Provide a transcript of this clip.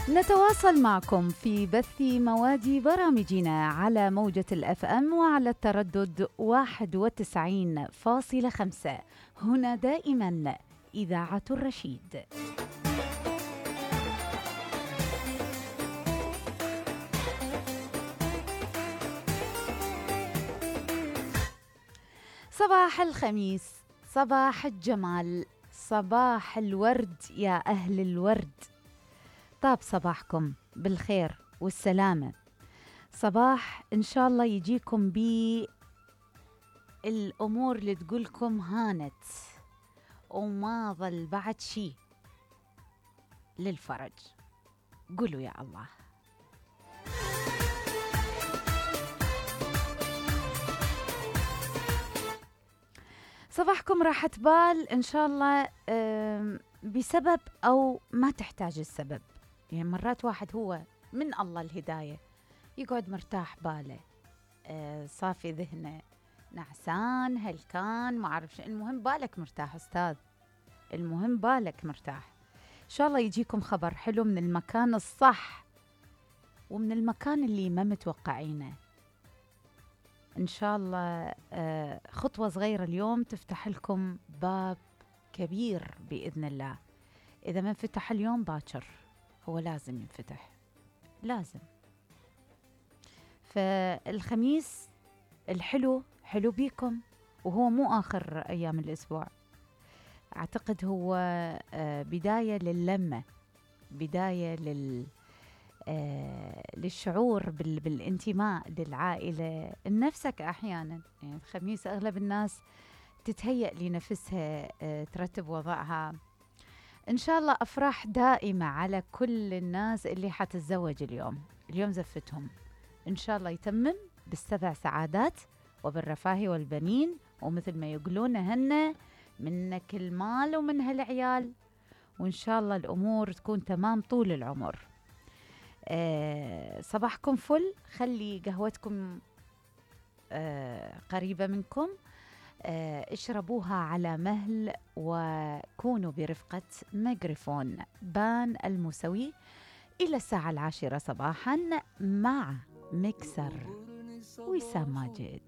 نتواصل معكم في بث مواد برامجنا على موجة الأف أم وعلى التردد 91.5. هنا دائما إذاعة الرشيد. صباح الخميس، صباح الجمال، صباح الورد يا أهل الورد. طاب صباحكم بالخير والسلامة. صباح إن شاء الله يجيكم بالأمور اللي تقولكم هانت وما ظل بعد شي للفرج. قولوا يا الله. صباحكم راحة بال إن شاء الله، بسبب أو ما تحتاج السبب. يعني مرات واحد هو من الله الهداية يقعد مرتاح باله، صافي ذهنه، نعسان هلكان ما أعرف شو، المهم بالك مرتاح أستاذ، المهم بالك مرتاح. إن شاء الله يجيكم خبر حلو من المكان الصح ومن المكان اللي ما متوقعينه. إن شاء الله خطوة صغيرة اليوم تفتح لكم باب كبير بإذن الله. إذا ما انفتح اليوم باكر هو لازم ينفتح، لازم. فالخميس الحلو حلو بيكم، وهو مو آخر أيام الأسبوع، أعتقد هو بداية للمة، بداية للشعور بالانتماء للعائلة لنفسك. أحيانا يعني الخميس أغلب الناس تتهيأ لنفسها ترتب وضعها. إن شاء الله أفراح دائمة على كل الناس اللي حتتزوج اليوم زفتهم. إن شاء الله يتمم بالسبع سعادات وبالرفاه والبنين، ومثل ما يقولون هن منك المال ومن هالعيال، وإن شاء الله الأمور تكون تمام طول العمر. صباحكم فل، خلي قهوتكم قريبة منكم، اشربوها على مهل، وكونوا برفقة ميكروفون بان الموسوي إلى الساعة 10 صباحا مع مكسر وسام ماجد.